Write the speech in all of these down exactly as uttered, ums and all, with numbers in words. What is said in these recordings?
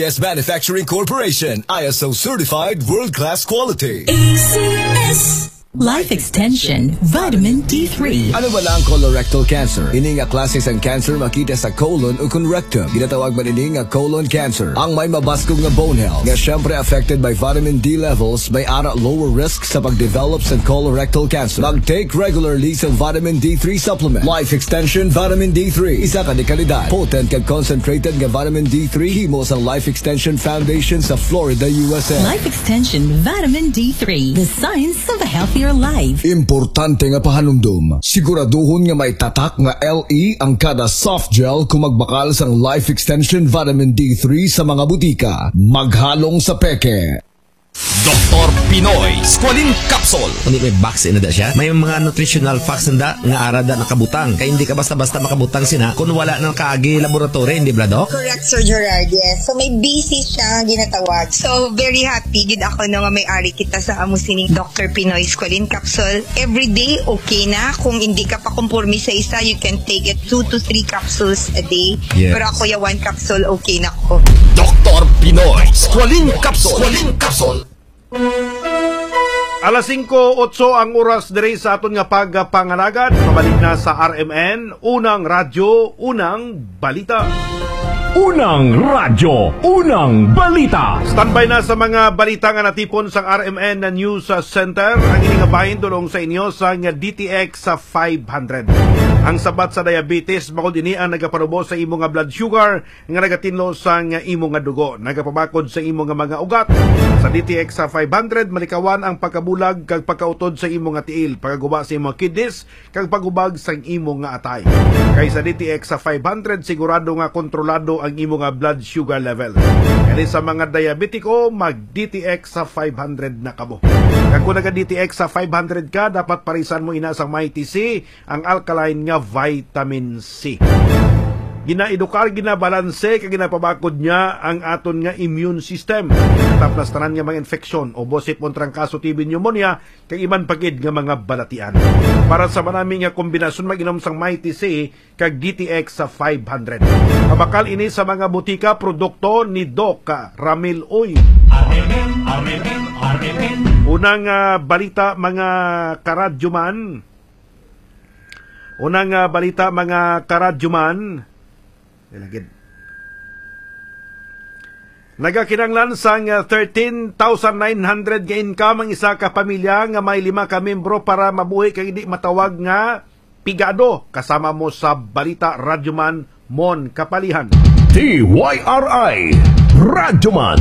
Yes Manufacturing Corporation, I S O certified world-class quality. A C S. Life Extension Vitamin D three. Ano ba ang colorectal cancer? Ini nga klase sang cancer makita sa colon o kon rectum. Ginatawag man ini nga colon cancer. Ang may mabaskog nga bone health, nga siyempre affected by vitamin D levels, may ara lower risk sa pag-develop sa colorectal cancer. Mag-take regularly sa vitamin D three supplement. Life Extension Vitamin D three. Isa ka dekalidad, potent kag concentrated nga vitamin D three himo sa Life Extension Foundation sa Florida, U S A. Life Extension Vitamin D three, the science of a healthier life. Importante nga pahanumdom, siguraduhon nga may tatak nga L E ang kada soft gel kung magbakal sang Life Extension Vitamin D three sa mga butika. Maghalong sa peke. Doktor Pinoy Squalene Capsule. Hindi may vaccine na da siya. May mga nutritional facts na da nga ara da nakabutang. Kaya hindi ka basta-basta makabutang sina kung wala na kaagi laboratory, hindi ba, Doc? Correct, Sir Gerard. Yes. So, may B C siya nga ginatawag. So, very happy gid ako, no, nga may ari kita sa amo sining Doctor Pinoy Squalene Capsule. Every day, okay na. Kung hindi ka pa kumpormi sa isa, you can take it two to three capsules a day. Yes. Pero ako, ya one capsule, okay na ko. Doktor Pinoy Squalene Capsule. Squalene Capsule. Alas singko otso ang oras diri sa aton nga pagpangalagad. Pabalik na sa R M N, Unang Radyo, Unang Balita. Unang Radyo, Unang Balita. Standby na sa mga balita nga natipon sang R M N na News Center. Ang ini nga bahin dulong sa inyo sang D T X sa five hundred. Ang sabat sa diabetes, bangod ini ang nagapanubo sa imo nga blood sugar, nga nagatinlo sang imo nga dugo, nagapabakod sa imo nga mga ugat. Sa D T X sa five hundred, malikawan ang pagkabulag kag pagkautod sa imo nga tiil, pagkaguba sa imo nga kidneys, kag pagubag sang imo nga atay. Kay sa D T X sa five hundred, sigurado nga kontrolado ang imo nga blood sugar level. Kani sa mga diabetiko, mag D T X sa five hundred na kamo. Kag kung naga D T X sa five hundred ka, dapat parisan mo ina sang Mighty C, ang alkaline nga vitamin C. Ginaedukar, ginabalanse, kag ginapabakod niya ang aton nga immune system. Tapos tanan nga mga infeksyon, ubo, sipon, trangkaso, T B, pneumonia, kag iban pa gid nga mga balatian. Para sa manami nga kombinasyon, mag-inom sang Mighty C kag D T X sa five hundred. Mabakal ini sa mga butika, produkto ni Doc Ramil Uy. R M N, R M N, R M N. Unang, ah, balita, mga karadyoman. Unang, ah, balita, mga karadyoman. Ilagid. Nagakinanglan sang, ah, thirteen thousand nine hundred nga income ang isa ka pamilya nga may lima ka miyembro para mabuhi kag hindi matawag nga pigado. Kasama mo sa balita, Radyoman Mon Kapalihan. D Y R I Radyoman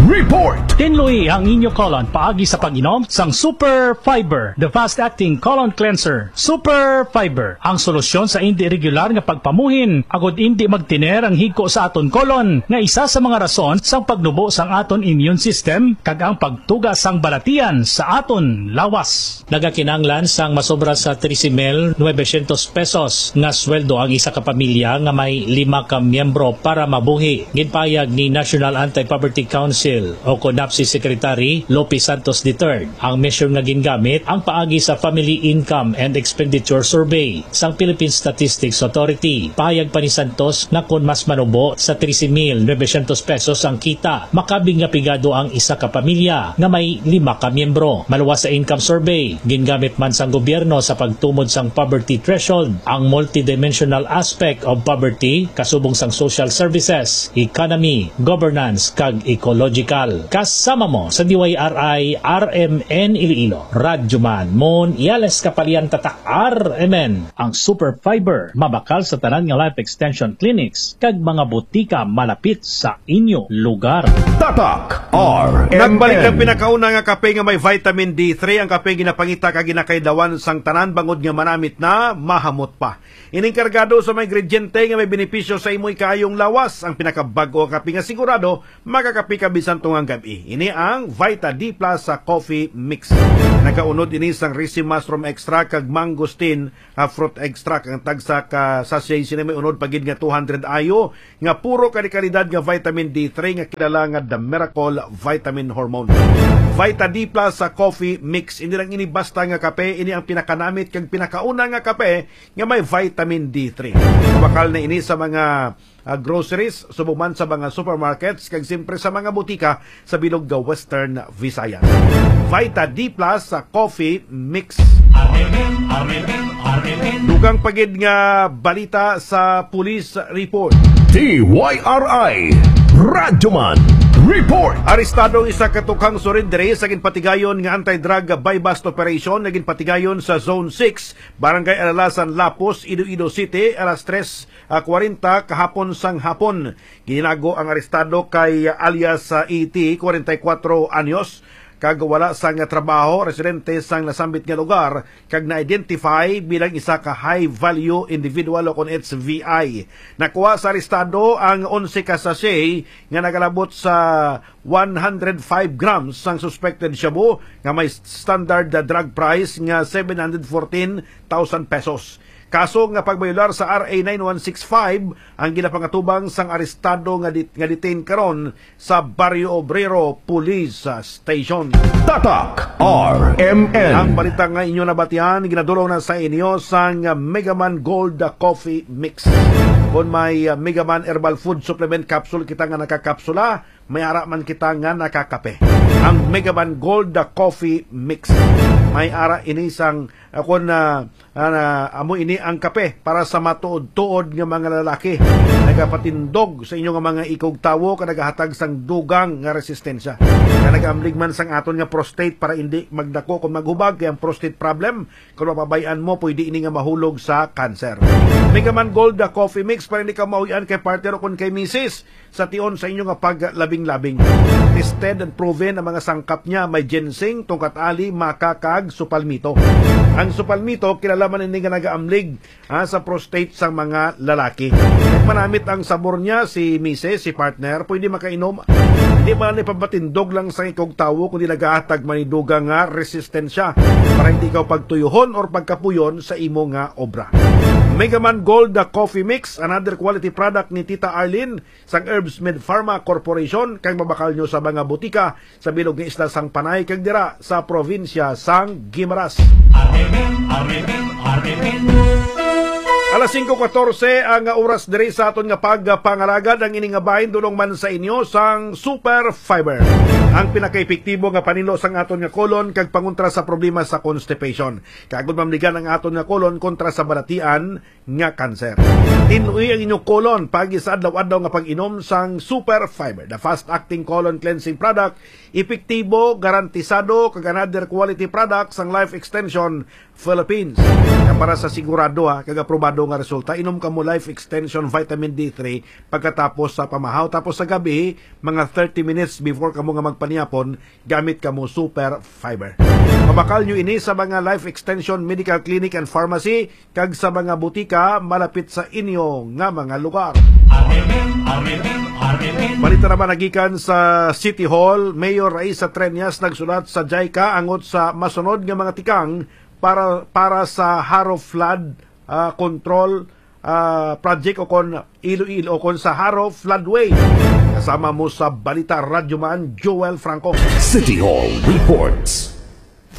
Report. Tinluyi ang inyo colon paagi sa pag-inom sang Super Fiber, the fast-acting colon cleanser. Super Fiber, ang solusyon sa indi regular nga pagpamuhin, agud indi magtiner ang higko sa aton colon, nga isa sa mga rason sang pagnubo sang aton immune system kag ang pagtuga sang balatian sa aton lawas. Nagakinahanglan sang masobra sa trese mil novecientos pesos nga sweldo ang isa ka pamilya nga may lima ka miyembro para mabuhi. Ginpahayag ni National Anti-Poverty Council o kon NAPCI Secretary Lope Santos the third. Ang measure nga gingamit ang paagi sa Family Income and Expenditure Survey sang Philippine Statistics Authority. Pahayag pa ni Santos nga kon mas manubo sa trese mil novecientos pesos ang kita, makabig nga pigado ang isa ka pamilya nga may lima ka miyembro. Maluwas sa income survey, gingamit man sang gobyerno sa pagtumod sang poverty threshold ang multidimensional aspect of poverty, kasubong sang social services, economy, governance, kag ecological. Kasama mo sa D Y R I R M N Iloilo, Radyo Man Mon Iales Kapalian, Tatak R M N. Ang Super Fiber mabakal sa tanan nga life extension clinics kag mga butika malapit sa inyo lugar. Tatak R M N. Nagbalik ang pinakauna nga kape nga may vitamin D three, ang kape ginapangita kag ginakaidawan sang tanan, bangod nga manamit na, mahamot pa. Ining kargado sa mga ingrediente nga may benepisyo sa imo ikaayong lawas, ang pinakabag-o nga kape nga sigurado makakape ka bisan tungang gab-i. Ini ang Vita D plus sa coffee mix. Nagaunod ini sang risi mushroom extract kag mangosteen, ah, fruit extract. Ang tagsa ka sachet sini may unod pa gid nga two hundred I U nga puro kalikalidad nga vitamin D three nga kilala nga the miracle vitamin hormone. Vita D plus sa coffee mix. Hindi lang ini basta nga kape, ini ang pinakanamit kag pinakauna nga kape nga may vitamin D three. Mabakal na ini sa mga, ah, groceries, subong man sa mga supermarkets, kag siyempre sa mga butika sa bilog nga Western Visayas. Vita D plus sa coffee mix. Dugang pa gid nga balita sa police report. T Y R I Radyoman Report. Arestado ang isa ka tukhang suridre sa ginpatigayon nga anti-drug buy-bust operation nga ginpatigayon sa Zone six, Barangay Alalasan, Lapos, Iloilo City, alas tres, ah, kwarenta kahapon sang hapon. Ginago ang arestado kay alias, ah, E T, kwarenta y kuwatro anyos, kag wala sang trabaho, residente sang nasambit nga lugar, kag na-identify bilang isa ka high-value individual o kon H V I. Nakuha sa arestado ang onse ka sachet nga nagalabot sa one hundred five grams sang suspected shabu nga may standard drug price nga seven hundred fourteen thousand pesos. Kaso nga pagbayolar sa R A nine one six five ang ginapangatubang sang arestado nga dit-, nga detained karon sa Barrio Obrero Police Station. Tatak R M N. Ang balita nga inyo nabatian, ginadulong na sa inyo sang Megaman Gold Coffee Mix. Kung may, uh, Megaman Herbal Food Supplement Capsule kita nga nakakapsula, may ara man kita nga nakakape. Ang Megaman Gold Coffee Mix. May ara ini sang, uh, kung, uh, Ah, na, amo ini ang kape para sa matuod-tuod nga mga lalaki. Nagapatindog sa inyo nga mga ikog tawo, kag nagahatag sang dugang nga resistensya. Kag nagaamlig man sang aton nga prostate para indi magdako kung maghubag, kay ang prostate problem, kung mapabay-an mo, pwede ini nga mahulog sa cancer. Megaman Gold, the coffee mix, para hindi ka mahuy-an kay partner o kung kay misis. Sa tion sa inyo nga paglabing-labing. Tested and proven ang mga sangkap niya. May ginseng, tungkat ali, maca, kag supalmito. Ang supalmito, kilala man ini nga nagaamlig, ha, sa prostate sang mga lalaki. Manamit ang sabor niya, si misis, si partner, pwede makainom. Hindi man ni pabatindog lang sa ikog tawo, kundi nagahatag man ni dugang nga resistensya para hindi ikaw pagtuyuhon or pagkapuyon sa imo nga obra. Megaman Gold, the coffee mix, another quality product ni Tita Arlene, sang Herbs Med Pharma Corporation, kag mabakal nyo sa mga butika sa bilog nga isla sang Panay kag dira sa probinsya sang Guimaras. Alas singko katorse ang oras diri sa aton nga pagpangalagad. Ang ini nga bahin dulong man sa inyo sang Super Fiber, ang pinakaepektibo nga panilo sang aton nga kolon kag pangontra sa problema sa constipation. Kag gud mamligan ang aton nga kolon kontra sa balatian nga kanser. Tin-ui ang inyong kolon pagi sa adlaw-adlaw nga pag-inom sang Super Fiber, the fast-acting colon cleansing product, epektibo, garantisado, kag another quality product sang Life Extension Philippines. Nga para sa sigurado, ha, kag aprobado nga resulta, inom kamo Life Extension Vitamin D three pagkatapos sa pamahaw, tapos sa gabi, mga thirty minutes before kamo nga magpanihapon, gamit kamo Super Fiber. Mabakal nyo ini sa mga Life Extension Medical Clinic and Pharmacy kag sa mga butika malapit sa inyo nga mga lugar. Balita naman nagikan sa City Hall, Mayor Raisa Treñas nagsulat sa JICA angot sa masunod nga mga tikang para, para sa Jaro Flood, ah, Control, ah, Project o kon Iloilo, o kon sa Jaro Floodway. Kasama mo sa Balita Radyo Man, Joel Franco. City Hall Reports.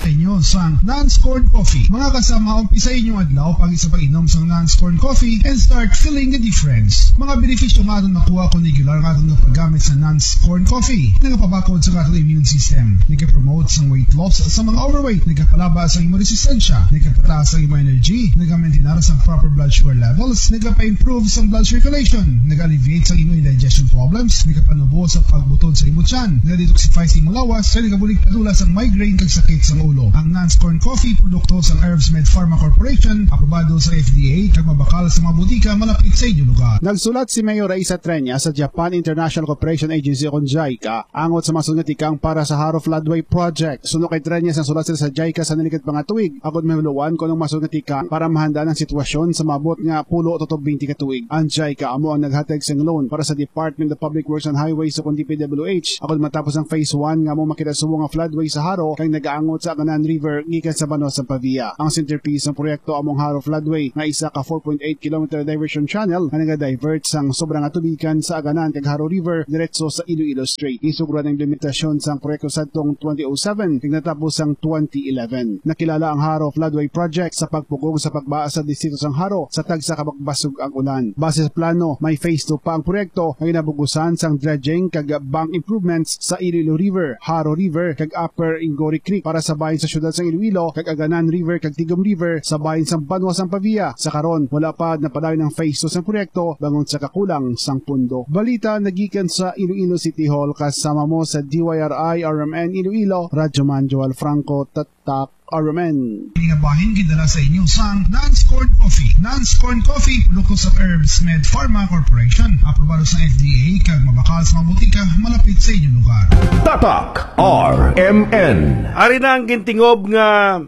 Sa inyo sang Nans Corn Coffee. Mga kasama, umpisa inyong adlaw pag sa pag-inom sang Nans Corn Coffee and start feeling the difference. Mga benepisyo nga aton makuha kung regular nga aton nga paggamit sa Nans Corn Coffee. Nagapabakod sa aton immune system. Nagapromote sang weight loss sa mga overweight. Nagapalaba sa imo resistensya. Nagapataas ang imo energy. Nagamaintinar sa proper blood sugar levels. Nagapa-improve sa blood circulation. Nag-alleviate sa imo indigestion problems. Nagapanubo sa pagbutod sa imo tiyan. Nag-detoxify sa imo lawas. Kag nagabulig padula sa migraine kag sakit sa ulo. Ang Nans Corn Coffee, produkto sa Herbs Med Pharma Corporation, aprobado sa F D A, kag mabakal sa mga butika malapit sa inyo lugar. Nagsulat si Mayor Raisa Treñas sa Japan International Cooperation Agency o kon JICA angot sa masunod nga tikang para sa Jaro Floodway Project. Suno kay Treñas, nagsulat sila sa JICA sa nalikod pa nga tuig, agod mahibaloan kon anong masunod nga tikang para mahandaan ang sitwasyon sa maabot nga pulo tubtob twenty ka tuig. Ang JICA amo ang naghatag sang loan para sa Department of Public Works and Highways o kon D P W H, agod matapos ang phase one nga amo makita subong nga floodway sa Jaro, kag nagaangot sa Aganan River gikan sa banwa sang Pavia. Ang centerpiece sang proyekto amo ang Jaro Floodway, nga isa ka four point eight kilometer diversion channel nga naga-divert sang sobra nga tubigan sa Aganan kag Jaro River diretso sa Iloilo Strait. Isuguran ang implementasyon sang proyekto sadtong twenty oh seven kag natapos sang twenty eleven. Nakilala ang Jaro Floodway Project sa pagpugong sa pagbaa sa distrito sang Jaro sa tagsa ka baskog ang ulan. Base sa plano, may phase two pa ang proyekto nga ginabugusan sang dredging kag bank improvements sa Iloilo River, Jaro River, kag Upper Ingory Creek para sa bahin sa siyudad sang Iloilo, kag Aganan River kag Tigum River sa bahin sang banwa sang Pavia. Sa karon, wala pa napadayon ang phase two sang proyekto bangod sa kakulang sang pundo. Balita nagikan sa Iloilo City Hall, kasama mo sa D Y R I R M N Iloilo, Radyo Man Joel Franco, Tatak R M N. Ini nga bahin gidala sa inyo sang Nans Corn Coffee. Nans Corn Coffee, produkto sa Herbs Med Pharma Corporation. Aprobado sa F D A kag mabakal sa mga botika malapit sa inyong lugar. Tatak R M N. Ari na ang gintingob nga,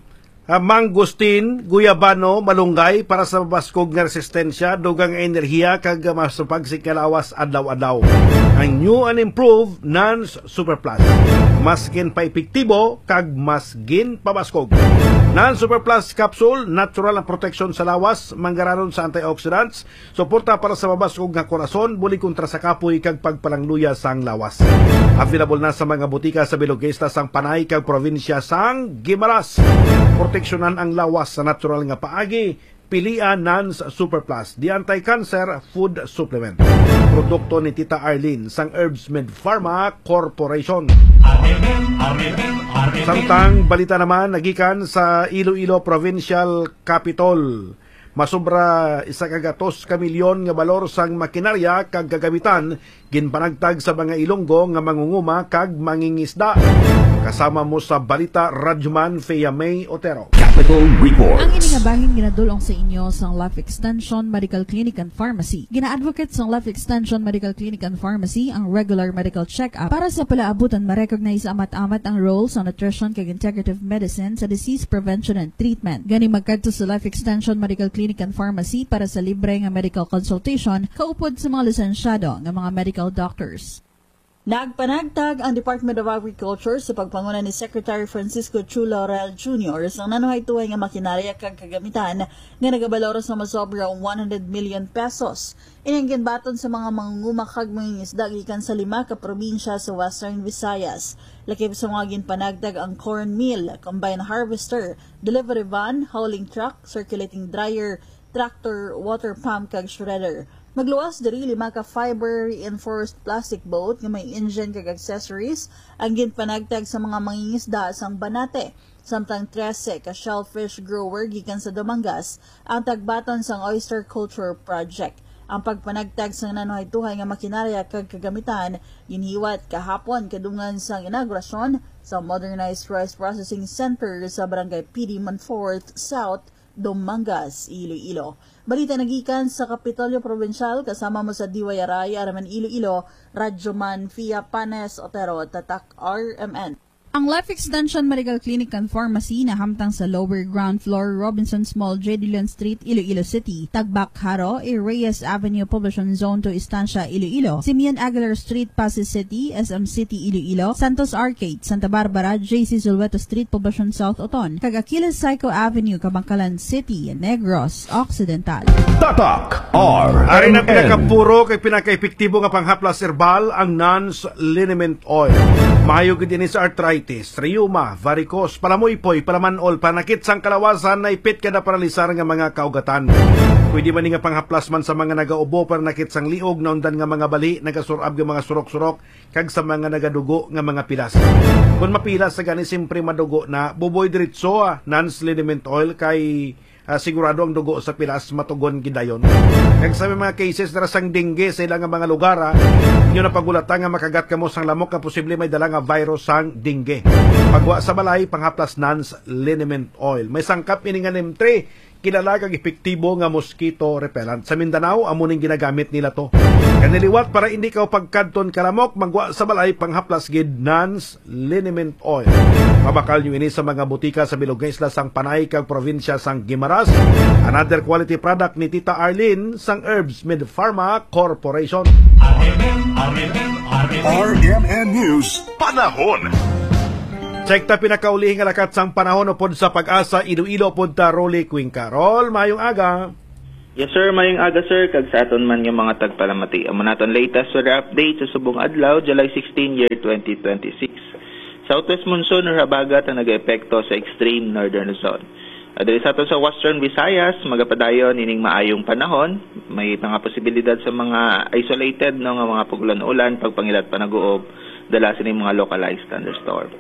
ah, mangosteen, guyabano, malunggay para sa mabaskog nga resistensya, dugang nga enerhiya, kag, ah, masupag sing kalawas adlaw-adlaw. Ang new and improved Nans Super Plus. Mas ginpaepektibo kag mas ginpabaskog. Nans Super Plus capsule, natural ang proteksyon sa lawas, manggaranon sa antioxidants, suporta para sa mabaskog nga korason, bulig kontra sa kapoy kag pagpalangluya sang lawas. Available na sa mga botika sa bilog nga isla sang Panay kag probinsya sang Guimaras. Proteksyonan ang lawas sa natural nga paagi, pilia Nans Super Plus, the anti-cancer food supplement. Produkto ni Tita Arlene sang Herbs Med Pharma Corporation. Samtang balita naman nagikan sa Iloilo Provincial Capitol. Masobra isa ka gatos ka milyon nga balor sang makinarya kag kagamitan ginpanagtag sa mga Ilonggo nga mangunguma kag mangingisda. Kasama mo sa balita, Radyoman Fea May Otero. Capital Report. Ang ini nga bahin ginadul-ong sa inyo sang Life Extension Medical Clinic and Pharmacy. Gina-advocate sang Life Extension Medical Clinic and Pharmacy ang regular medical check-up para sa palaabutan ma-recognize amat-amat ang role sa nutrition kag integrative medicine sa disease prevention and treatment. Gani magkadto sa Life Extension Medical Clinic and Pharmacy para sa libre nga medical consultation kaupod sa mga lisensyado nga mga medical doctors. Nagpanagtag ang Department of Agriculture sa pagpanguna ni Secretary Francisco Chu Laurel Junior sang nanuhaytohay nga makinarya kag kagamitan nga nagabalor sa masobra one hundred million pesos. Ini ang ginbaton sa mga mangunguma kag mangingisda gikan sa lima ka probinsya sa Western Visayas. Lakip sa mga ginpanagtag ang corn mill, combine harvester, delivery van, hauling truck, circulating dryer, tractor, water pump, kag shredder. Magluwas diri lima ka fiber reinforced plastic boat nga may engine kag accessories ang ginpanagtag sa mga mangingisda sang Banate, samtang trese ka shellfish grower gikan sa Dumangas ang tagbaton sang Oyster Culture Project. Ang pagpanagtag sang nanuhaytohay nga makinarya kag kagamitan ginhiwat kahapon kadungan sang inaugurasyon sa modernized rice processing center sa Barangay P D Monfort South, Dumangas, Iloilo. Balita nagikan sa Kapitolyo Provincial, kasama mo sa D Y R I R M N Iloilo, Radyoman Fia Panes Otero, Tatak R M N. Ang Life Extension Medical Clinic and Pharmacy nahamtang sa lower ground floor, Robinsons Mall, J. Dillon Street, Iloilo City, Tagbak, Jaro, A. Reyes Avenue, Poblacion Zone two, Estancia, Iloilo, Simeon Aguilar Street, Passi City, S M City, Iloilo, Santos Arcade, Santa Barbara, J C Zulueta Street, Poblacion South, Oton, kag Achilles Psycho Avenue, Kabankalan City, Negros Occidental. Tatak R M N. Ari na pinakapuro kag pinakaepektibo nga panghaplas herbal ang Nans Liniment Oil. Maayo gid ini sa arthritis, rheuma, varicose, palamuypoy, palaman-ol, panakit sang kalawasan, naipit ka na paralisar nga mga kaugatan. Pwede man ni nga panghaplas man sa mga nagaubo, panakit sang liog, naundan nga mga bali, nagasur-ab nga mga surok-surok, kag sa mga nagadugo nga mga pilas. Kon mapilas sa gani, simpre madugo na, buboy diretso, ah, Nans Liniment Oil kay, ah, sigurado ang dugo sa pilas matugon gid dayon. Kag sa may mga cases dira sang dengue sa ilang nga mga lugar, ah, inyo na pagulata nga makagat kamo sang lamok nga posible may dala nga virus sang dengue. Pagwa sa balay, panghaplas Nans Liniment Oil. May sangkap ini nga neem three, kilala kag epektibo nga mosquito repellent. Sa Mindanao, amo ning ginagamit nila to. Kani liwat para indi ka pagkadton kalamok, magwa sa balay, panghaplas gid Nans Liniment Oil. Mabakal nyo ini sa mga butika sa bilog nga isla sang Panay kag probinsya sang Guimaras. Another quality product ni Tita Arlene sang Herbs Med Pharma Corporation. R M N, R M N, R M N. R M N News, panahon. Check ta pinakaulihi nga lakat sang panahon upod sa Pag-asa Iloilo, upod ta Rolly Cuenca. Rol, mayong aga. Yes, sir. Mayong aga, sir. Kag sa aton man nga mga tagpalamati, amo naton latest weather update sa subong adlaw, July sixteen, year twenty twenty-six. Southwest monsoon or habagat ang nag-epekto sa extreme northern Luzon. Ah, diri sa aton sa Western Visayas, magapadayon ining maayong panahon. May mga posibilidad sa mga isolated, no, nga mga pag-ulan-ulan, pagpangilat panaguob, dala sining mga localized thunderstorm.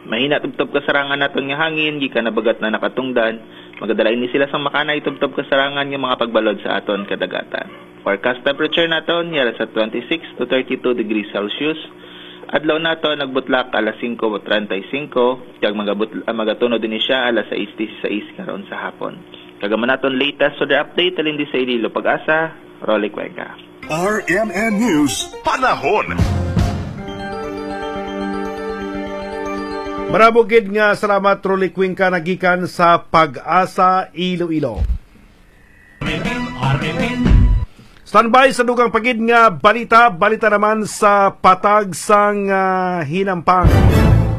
Mahina tubtob kasarangan naton nga hangin, gikan habagat na nakatungdan. Magadala ini sila sang makanay tubtob kasarangan nga mga pagbalod sa aton kadagatan. Forecast temperature naton, yara sa twenty-six to thirty-two degrees Celsius. Adlaw naton nagbutlak alas singko treinta y cinco, kag magabut-, ah, magatunod ini siya alas sais dieciséis karon sa hapon. Kag amo naton latest weather update, halin di sa Iloilo, Pag-asa, Rolly Cuenca. R M N News, panahon. Maramo gid nga salamat, Rolly Cuenca, nagikan sa Pag-asa Iloilo. Standby sa dugang pa gid nga balita, balita naman sa patag sang, ah, hinampang.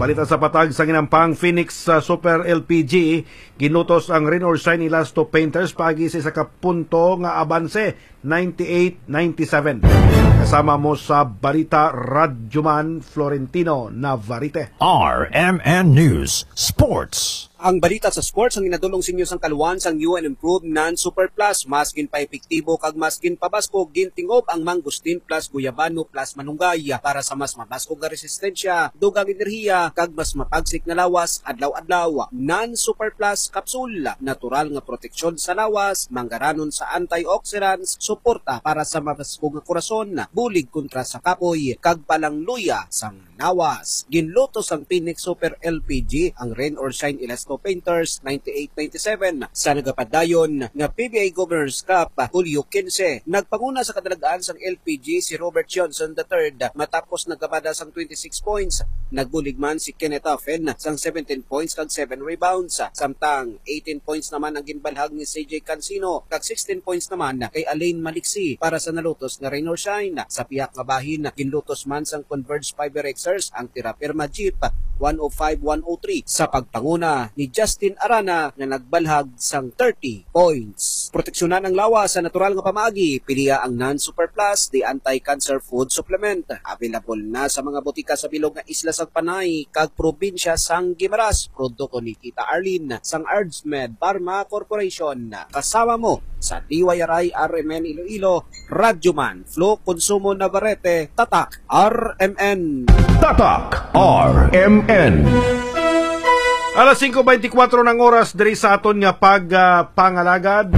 Balita sa patag sang hinampang, Phoenix, ah, Super L P G, ginlutos ang Rain or Shine Elasto Painters paagi sa isa ka punto nga abanse, ninety-eight ninety-seven. Kasama mo sa balita, Radyoman Florentino Navarrete. R M N News Sports. Ang balita sa sports ang ginadul-ong sa inyo sang kaluan sang new and improved non-super plus. Mas ginpaepektibo kag mas ginpabaskog, gintingob ang mangosteen plus guyabano plus manunggay para sa mas mabaskog nga resistensya, dugang enerhiya, kag mas mapagsik nga lawas adlaw-adlaw. Non-super plus capsule, natural nga proteksyon sa lawas, manggaranon sa antioxidants, suporta para sa mabaskog nga korason, bulig kontra sa kapoy, kag palangluya sang lawas. Ginluto sang Phoenix Super L P G ang Rain or Shine Elasto Painters ninety-eight ninety-seven sa nagapadayon nga P B A Governor's Cup, Hulyo quince. Nagpanguna sa kadalagan sang L P G si Robert Johnson the third, matapos nagkabada sang twenty-six points. Nagbulig man si Kenneth Offen sang seventeen points kag seven rebounds, samtang eighteen points naman ang ginbalhag ni C J Cancino, kag sixteen points naman kay Alain Maliksi para sa nalutos nga Rain or Shine. Sa pihak nga bahin, ginlutos man sang Converge Fiber Rexers ang Terra Firma Jeep one oh five one oh three sa pagpanguna ni Justin Arana nga nagbalhag sang thirty points. Proteksyonan ang lawas sa natural nga pamaagi, pilia ang non-super plus, the anti-cancer food supplement. Available na sa mga botika sa bilog nga isla sang Panay kag probinsya sang Guimaras. Produkto ni Tita Arlene sang Ardsmed Pharma Corporation. Kasama mo sa D Y R I R M N Iloilo, Radyoman Flo Consumo Navarrete, Tatak R M N. Tatak R M N. Alas singko beintikwatro ng oras diri sa aton nga pag, ah, pangalagad.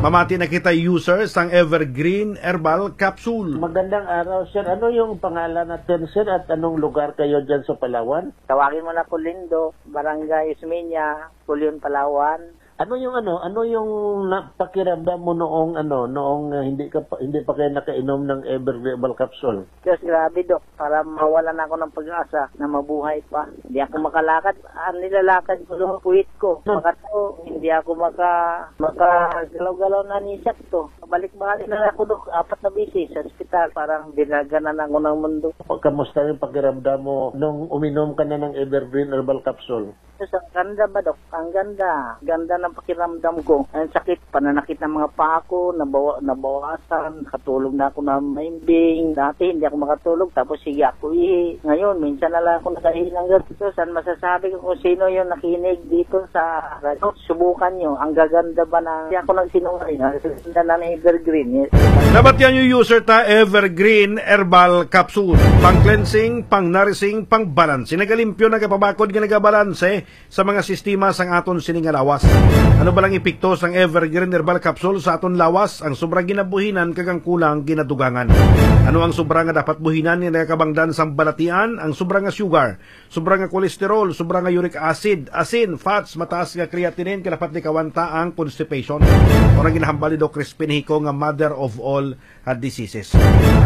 Mamati na kita, user sang Evergreen Herbal Capsule. Magandang araw, sir. Ano yung pangalan natin, sir, at anong lugar kayo dyan sa Palawan? Tawagin mo na po Lindo, Barangay Ismeña, Culion, Palawan. Ano yung ano, ano yung na-, pakiramdam mo noong ano, noong, ah, hindi ka pa, hindi pa kayo nakainom ng Evergreen Herbal Capsule? Diyos, grabe, Dok. Para mawala na ako ng pag-asa na mabuhay pa. Hindi ako makalakad. Ang nilalakad ko, Dok, puwit ko. Hmm. Makato, hindi ako maka-, makagalaw-galaw na ni sakto. Balik-balik na ako, Dok, apat na beses sa ospital. Parang dinaganan ako ng mundo. Kamusta yung pakiramdam mo nung uminom ka na ng Evergreen Herbal Capsule? Yes, ang ganda ba, Dok? Ang ganda. Ganda ng pakiramdam ko. Ang sakit, pananakit ng mga paa ko, nabawa-, nabawasan. Nakatulog na ako na maimbing. Dati, hindi ako makatulog, tapos sige ako ihi. Ngayon, minsan na lang ako nakahilang ganito. Saan masasabi ko kung sino yung nakinig dito sa radyo? Subukan nyo. Ang gaganda ba na, hindi ako nagsinungaling. Ang ganda na ng Evergreen. Yes. Nabatian yung user ta, Evergreen Herbal Capsule. Pang cleansing, pang nourishing, pang balance. Nagalimpyo, nagapabakod, nga nagabalanse sa mga sistema sang aton sini nga lawas. Ano ba lang epekto sang Evergreen Herbal Capsule sa aton lawas? Ang sobra ginabuhinan kag ang kulang ginadugangan. Ano ang sobra nga dapat buhinan nga nagakabangdan sang balatian? Ang sobra nga sugar, sobra nga cholesterol, sobra nga uric acid, asin, fats, mataas nga creatinine, kay dapat likawan ta ang constipation. Mao ang ginahambal ni Doc Crispin Hico nga mother of all, ah, diseases.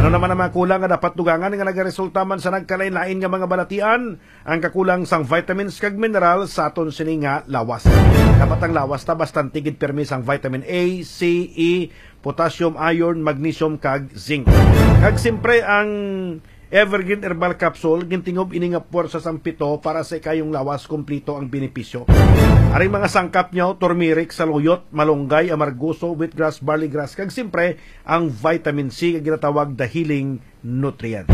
Ano naman ang mga kulang nga dapat dugangan nga nagaresulta man sa nagkalain-lain nga mga balatian? Ang kakulang sang vitamins kag mineral sa aton sini nga lawas. Dapat ang lawas ta bastante gid pirmi sang vitamin A, C, E, potassium, iron, magnesium, kag zinc. Kag siyempre ang Evergreen Herbal Capsule, gintingob ini nga puwersa sang pito para sa ikayong lawas, kumplito ang benepisyo. Aring mga sangkap niyo, turmeric, saluyot, malunggay, amargoso, wheatgrass, barley grass, kag siyempre, ang vitamin C nga ginatawag the healing nutrient.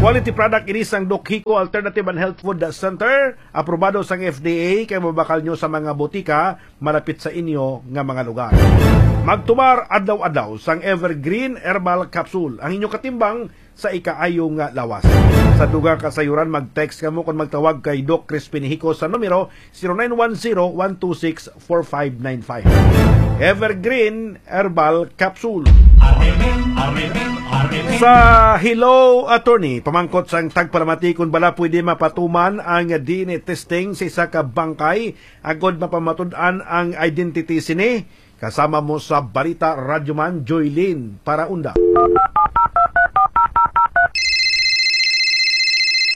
Quality product ini sang Doc Hico Alternative and Health Food Center, aprobado sang F D A, kay mabakal nyo sa mga botika malapit sa inyo nga mga lugar. Magtumar adlaw-adlaw sang Evergreen Herbal Capsule, ang inyong katimbang sa ikaayo nga lawas. Sa dugang kasayuran, mag-text kamo kon magtawag kay Doc Crispin Hico sa numero zero nine one zero, one two six, four five nine five. Evergreen Herbal Capsule. Sa Hello Attorney, pamangkot sang tagpalamati kung bala pwede mapatuman ang D N A testing sa isa ka bangkay agod mapamatud-an ang identity sini. Kasama mo sa balita, Radyoman Joylene Paraunda.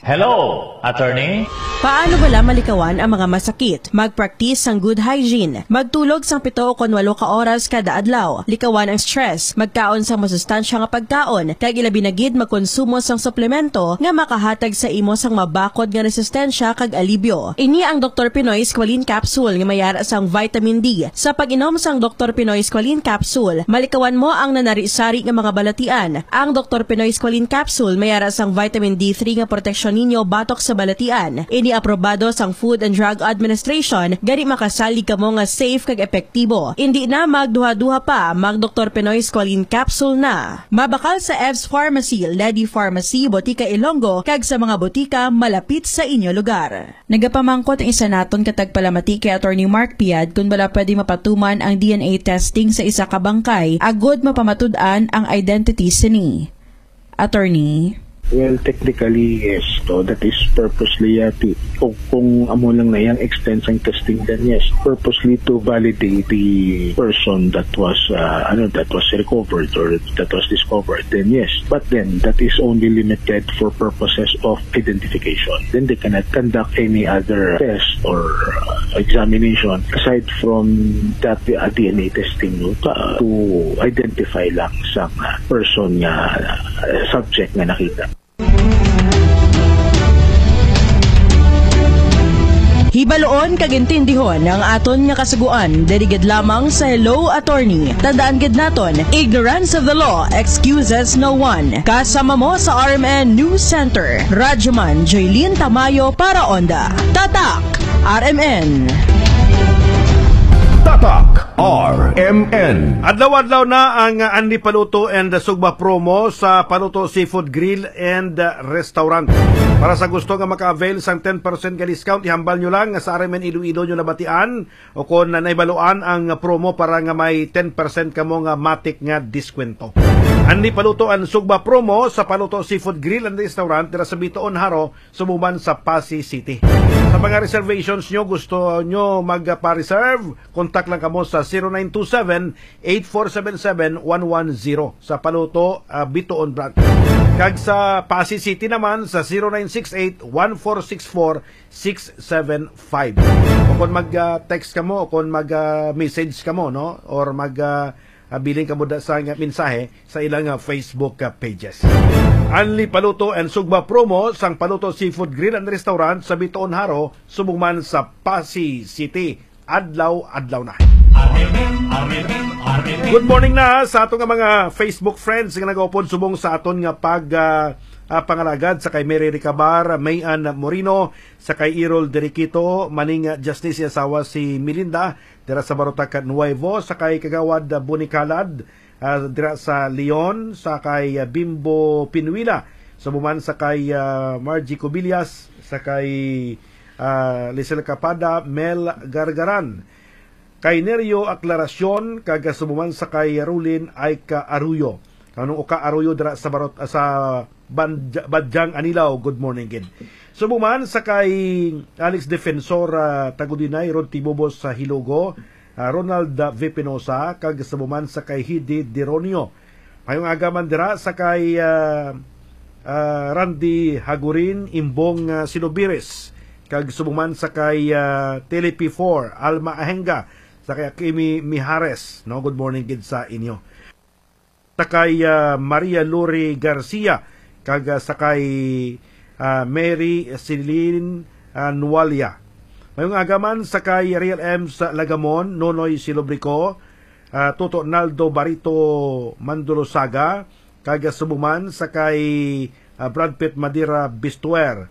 Hello, attorney. Paano bala malikawan ang mga masakit? Mag-practice sang good hygiene. Magtulog sang pito ukon walo ka oras kada adlaw. Likawan ang stress. Magkaon sang masustansya nga pagkaon, kag ilabi na gid magkonsumo sang suplemento nga makahatag sa imo sang mabakod nga resistensya kag alibyo. Ini ang Doktor Pinoy Squalene Capsule nga may ara sang vitamin D. Sa pag-inom sang Doktor Pinoy Squalene Capsule, malikawan mo ang nanari-sari nga mga balatian. Ang Doktor Pinoy Squalene Capsule may ara sang vitamin D three nga proteksyon ninyo batok sa balatian. Ini aprobado sang Food and Drug Administration, gani makasalig kamo nga safe kag epektibo. Indi na magduha-duha pa, mag Doktor Pinoy Squalene Capsule na. Mabakal sa Evs Pharmacy, Lady Pharmacy, Botika Ilonggo, kag sa mga botika malapit sa inyo lugar. Nagapamangkot ang isa naton ka tagpalamati kay Attorney Mark Piad kung bala pwede mapatuman ang D N A testing sa isa ka bangkay agud mapamatud-an ang identity sini. Attorney. Well, technically, yes. So, that is purposely, uh, to, kung, kung amo lang na iyang extent sang testing, then yes, purposely to validate the person that was, uh, ano, that was recovered or that was discovered, then yes. But then, that is only limited for purposes of identification. Then they cannot conduct any other test or, uh, examination aside from that, uh, D N A testing, no, pa, to identify lang sa, uh, person nga, uh, subject nga nakita. Hibaluon kag intindihon ang aton nga kasugoan diri gid lamang sa Hello Attorney. Tandaan gid naton, ignorance of the law excuses no one. Kasama mo sa R M N News Center, Radyoman Jaylene Tamayo para Onda. Tatak R M N. Tatak R M N. Adlaw-adlaw na ang, uh, Anli Paluto and Sugba promo sa Paluto Seafood Grill and, uh, Restaurant. Para sa gusto nga maka-avail sang ten percent nga discount, ihambal nyo lang sa R M N Iloilo nyo nabatian o kon nahibaluan ang promo para nga may ten percent kamo nga matik nga diskwento. Anli Paluto and Sugba promo sa Paluto Seafood Grill and Restaurant dira sa Bitoon, Jaro, subong man sa Passi City. Sa mga reservations nyo, gusto nyo magpa-reserve, contact lang kamo sa zero nine two seven, eight four seven seven, one one zero sa Paluto, ah, Bitoon Branch. Kag sa Passi City naman sa zero nine six eight, one four six four, six seven five. O kung mag, ah, text kamo, o kung mag, ah, message kamo, no? Or mag, ah, ah, bilin kamo da sa nga mensahe sa ilang, ah, Facebook, ah, pages. Anli Paluto and Sugba promo sang Paluto Seafood Grill and Restaurant sa Bitoon, Jaro, subong man sa Passi City. Adlaw-adlaw na. Good morning na sa ato nga mga Facebook friends nga nagaupod subong sa aton nga pag, ah, ah, pangalagad, sa kay Mary Ricabar, Mayan Moreno, sa kay Errol Deriquito, Maning Justicia, asawa si Melinda, dira sa Barotac Nuevo, sa kay Kagawad Boni Calad, ah, dira sa Leon, sa kay, ah, Bimbo Pinuila, subong man sa kay, ah, Margie Cubillas, sa kay, ah, Lisel Capada, Mel Gargaran, kay Nerio Aclaracion, kag subong man sa kay Rulin Aika Arroyo. Kanong Oka Arroyo dira sa Barot-, sa Banja-, Badjang Anilao, good morning gid. Subong man sa kay Alex Defensor, ah, Tagudinay, Rod Tibobos sa Hilogo, ah, Ronald, ah, V Pinosa, kag subong man sa kay Hidi Deronio. Mayong aga man dira sa kay, ah, ah, Randy Hagurin, Imbong, ah, Sinubires, kag subong man sa kay, ah, Telepi four, Alma Ahenga, sa kay Kimi Mijares, no? Good morning gid sa inyo. Sa kay, ah, Maria Lori Garcia, kag, ah, sa kay, ah, Mary Celine, ah, Nualia. Mayong aga man sa kay Ariel M sa Lagamon, Nonoy Silobrico, ah, Toto Naldo Barito Mandolosaga, kag subong man sa kay, ah, Brad Pitt Madira Bistuer,